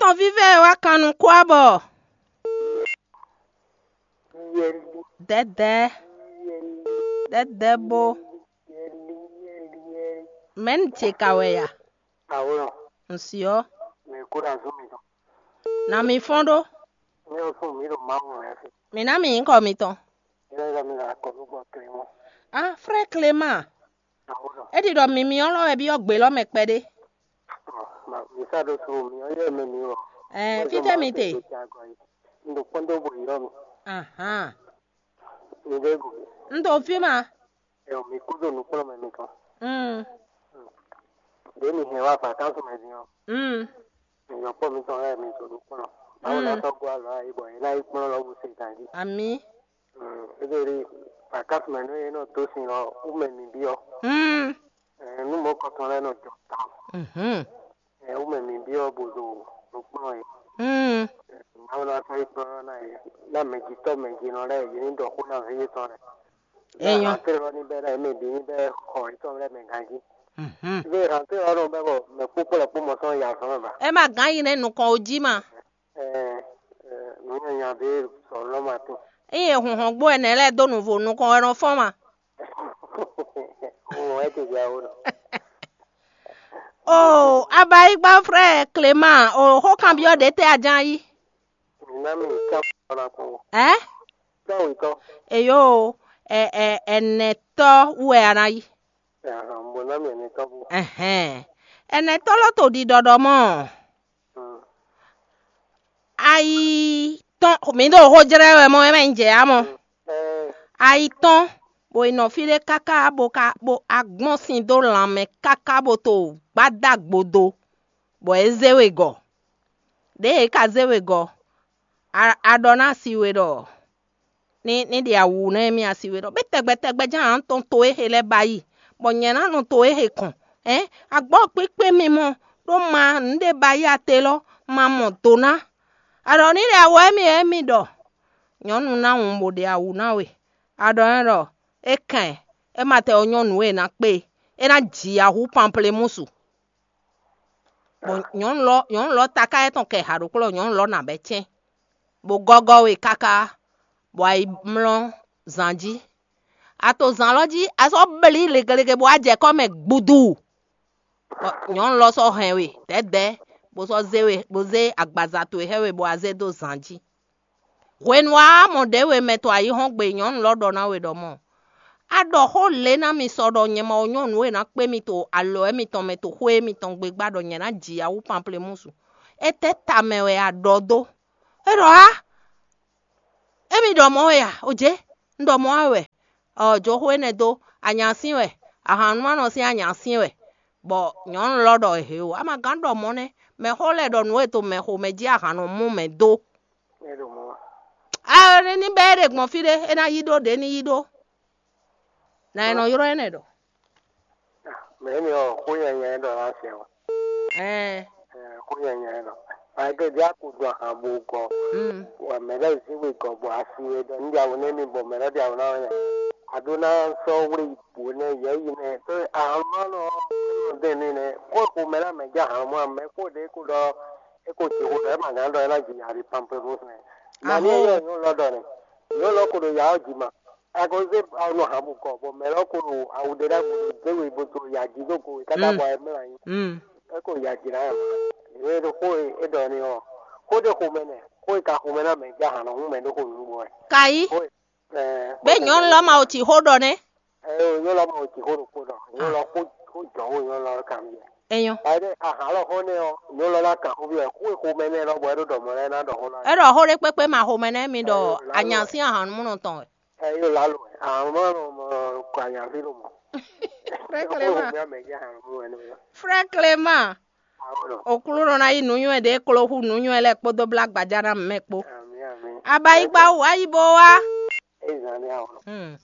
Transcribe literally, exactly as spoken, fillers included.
Nɔví vɛ́ e wá kan nukún abɔ. Dɛ̌dɛ̌, dɛ̌dɛ̌ bo. Mɛ̌ un ce ka wɛ ya? Awlo, Un si ɔ́, mɛ kó ɖo azɔn mitɔn. Na mi fɔ́n ɖó. Mɛ ɔ́ fún mi ɖo Mawu mɛ fi. Mǐ ná mi nyǐkɔ mitɔn. Yɛlɛ yɛlɛ mi ɖo akɔlù gbɔ Clément. Á, frɛ́ Clément, Awlo, é ɖi ɖɔ mi mi ɔ́ lɔ wɛ byɔ́ gbe lɔ mɛ kpɛɖé. Ma mi sa ɖo su mi ɔ́ yɛ mɛ mi wɔ. Ɛɛ, fítɛ́ mi te? Un ɖo kpɔ́n dó bo yi ɔ́ mi. Ahán. Mi ɖe go. Un ɖo fí ma. Ɛ mi kú ɖo nukplɔ́nmɛ mitɔn. Mm. Ɖě mi hɛn wá vacances mɛ din ɔ́, Mm. Mi yɔkpɔ́ mitɔn lɛ́ɛ mi to ɖo kplɔ́n. Mawu ná Mm. tɔ́ gɔ́ alɔ ayǐ bɔ yě ná yi kplɔ́n lɔ bó se ganjí. Amǐ. Mm, é ɖo ɖi vacances mɛ nú é nɔ dó sin lɔ wú mɛ mi byɔ́. Mm. Ɛ, nú mɔ̌ kɔtɔn lɛ́ɛ nɔ jɔ tawun. Mhm. Ɛ, wú mɛ mi byɔ́ bó ɖo ɖo kplɔ́n é. Mm. Mawu ná tɔ́ yi kplɔ́n ná yě. Ná mɛjitɔ́ mɛjinɔ lɛ́ɛ yě ní ɖɔ xó ná ví yětɔn lɛ́ɛ. Enyɔ. Ná afé lɔ ní bɛ́ ná yě mɛ bǐ ní bɛ́ xɔ yětɔn lɛ́ɛ mɛ ganjí. Mhm. Ve hantɛ ɔ́ nɔ bɛ bɔ mɛ kpókpó lɛ kpó mɔ sɔn ya zɔn mɛ ba. Ɛ ma gán yi nɛ nukɔn o jí ma. Ɛ ɛ nǔ nyanya ɖé sɔ lɔ ma tó. Eye hunhɔn gbó ɛnɛ lɛ dó nǔvo nukɔn wɛ nɔ fɔn ma. Mo wɛ ti ya wo nɔ. O abayigba frɛ Clément, o xó kanbyɔ́ ɖě tɛ a ján yí? Mi ná mi ká ɔ́ na kpɔn. Ɛ? Tɔ́ wětɔ́. Eyo, ɛ ɛ ɛnɛtɔ wɛ a ná yí. Mo ná mi ɛnɛtɔ bú. Ɛhɛn. Ɛnɛtɔ lɔ to ɖiɖɔɖɔ mɔ. Ayi tɔn mi ɖo xó jlɛ́ wɛ mɔ, é mɛ un jɛ ya mɔ. Ayi tɔn, bɔ è nɔ fí ɖé káká bó ka bó agbɔ́n sin dó lanmɛ káká bó to gbádá gbodo, bɔ é zé we gɔ̌. Ɖěe é ka zé we gɔ̌, a ɖɔ ná asi we ɖɔ ní ní ɖe awǔ nú émí asi we ɖɔ bé tɛgbɛ tɛgbɛ jɛ́n ǎ tɔn to e he lɛ́ɛ ba yi, bɔ nyɛ ná nɔ to e he kɔn. Ɛ̌, agbɔ́ kpíkpé mi mɔ ɖó ma nǔɖé ba yi ate lɔ, ma mɔ do ná. A ɖɔ ní ɖe awǔ émí émí ɖɔ nyɔ̌nu ná wun bó ɖe awǔ ná we. A ɖɔ n'i ɖɔ é kɛn é ma tɛ ɔ́ nyɔ́ nǔ e è nǎ kpé e, é ná ji ahú panplémúsu. Bɔ nyɔ̌nu lɔ nyɔ̌nu lɔ taká etɔn kɛ ha ɖokpó lɔ nyɔ̌nu lɔ nǎ bɛ́ cɛ́n, bó gɔ́gɔ́ we káká, bɔ a yi mlɔ́ zan jí. A to zan lɔ jí, a sɔ́ blí legelege bɔ a jɛ kɔ́ mɛ gbudu. Bɔ nyɔ̌nu lɔ sɔ́ hɛn we dɛ̌dɛ̌, bó sɔ́ zé we bó zé agbaza towe xá we bɔ a zé dó zan jí. Hwenu a mɔ ɖěwe mɛ to ayǐhɔ́ngbe nyɔ̌nu lɔ ɖɔ ná we ɖɔ mɔ̌, a ɖɔ xó lě ná mi sɔ ɖɔ nyɛ ma wɔ nyɔ́ nǔ e ná kpé mi to alɔ mitɔn mɛ to xwé mitɔn gbe gbá ɖɔ nyɛ ná ji awú panplémúsu. Étɛ́ ta mɛ wɛ a ɖɔ dó? É ɖɔ á, émi ɖɔ mɔ̌ wɛ a? Ojě, un ɖɔ mɔ̌ wɛ. Ɔ, jǒxo énɛ́ dó, anyǎsín wɛ, ahannumánɔ sín anyǎsín wɛ. Bɔ nyɔ̌nu lɔ ɖɔ ehe o, a ma gán ɖɔ mɔ̌ nɛ́, mɛxó lɛ́ɛ ɖɔ nǔ e to mɛ xomɛ jí ahan nɔ mú mɛ dó. É ɖo mɔ̌ wa. A ní bɛ́ é ɖe gbɔn fí ɖé, é ná yí ɖó ɖě ní yí ɖó. Nǎ e nɔ ylɔ́ énɛ́ ɖɔ. Mɛ énɛ́ ɔ́, xó nyanya é ɖɔ ná sɛ o. Ɛɛ, Ɛ, xó nyanya é ɖɔ. Ba é ɖe ɖi a ko ɖu ahan bo gɔ. Mm. Wa mɛ lɛ́ɛ zé we gɔ bɔ asi we ɖɔ ní ɖi awu nɛ́ mi bɔ mɛ lɛ́ɛ ɖi awu ná wɛ. A ɖó ná sɔ́ wlé yi bǔ nɛ́ yɛ yi nɛ́. Tó ahan ma nɔ nɔ dɛn ní nɛ́. Xó ko mɛ ná mɛ jɛ ahan mɔ mɛ xó ɖé ko ɖɔ é ko jǐ xó ɖɔ é ma gán ɖɔ é ná jǐ ali pamplemousse nɛ́. Mɛ ní Aho. Yɔ nyɔ̌nu lɔ ɖɔ nɛ́. Nyɔ̌nu lɔ ko ɖo ya ɔ́ jí ma. A ko zé awu nɔ ahan bo gɔ bɔ mɛ lɔ ko ɖo awu ɖé ɖa ko ɖo dé we bo to ya jí dó go we káká Mm. Bɔ é mlɔ anyi. Mm. É ko ya jǐ ná yɔ. Yě ɖo xó e é ɖɔ ní ɔ́, xó ɖé xomɛ nɛ, xó e ka xomɛ ná mɛ jɛ ahan nɔ hún mɛ ɖó xó nǔgbó wɛ. Kayi, Xó e, ɛɛ, be xó nyɔnu ɖé lɔ ma o ti xó ɖɔ nɛ. Ɛ o, nyɔnu lɔ ma o ti xó ɖokpó ɖɔ. Nyɔnu lɔ xó xó jɔ xó nyɔnu lɔ kan biɛ. Enyɔ. Ayi ɖe ahan lɔ xó nɛ ɔ, nyɔnu lɔ ná kan xó biɛ. Xó e xomɛ nɛ lɔ bɔ é ɖo ɖɔ mɔ lɛ ná ɖɔ xó lɔ. E ɖɔ xó ɖe kpekpe ma xomɛ nɛ mi ɖɔ Ɛ, ɛ, anya sín ahan mɔ tɔn wɛ. Ɛ yóò lálò ɛ. Àwọn ọmọ ọmọ kọ àyànfí ló mọ. Frère Clément. Ọmọ mi àmẹ jẹ àwọn ọmọ ẹni mi. Frère Clément. Àwọn ọ̀nà. Òkúlù nọ ná yí nǔnywɛ́ ɖě klo hú nǔnywɛ́ lɛ́ɛ kpódó blá gbajá ná mɛ kpó. Àmì àmì. Abayigba wá yí bó wá. Ẹ zàn ní àwọn ọ̀nà. Hmm.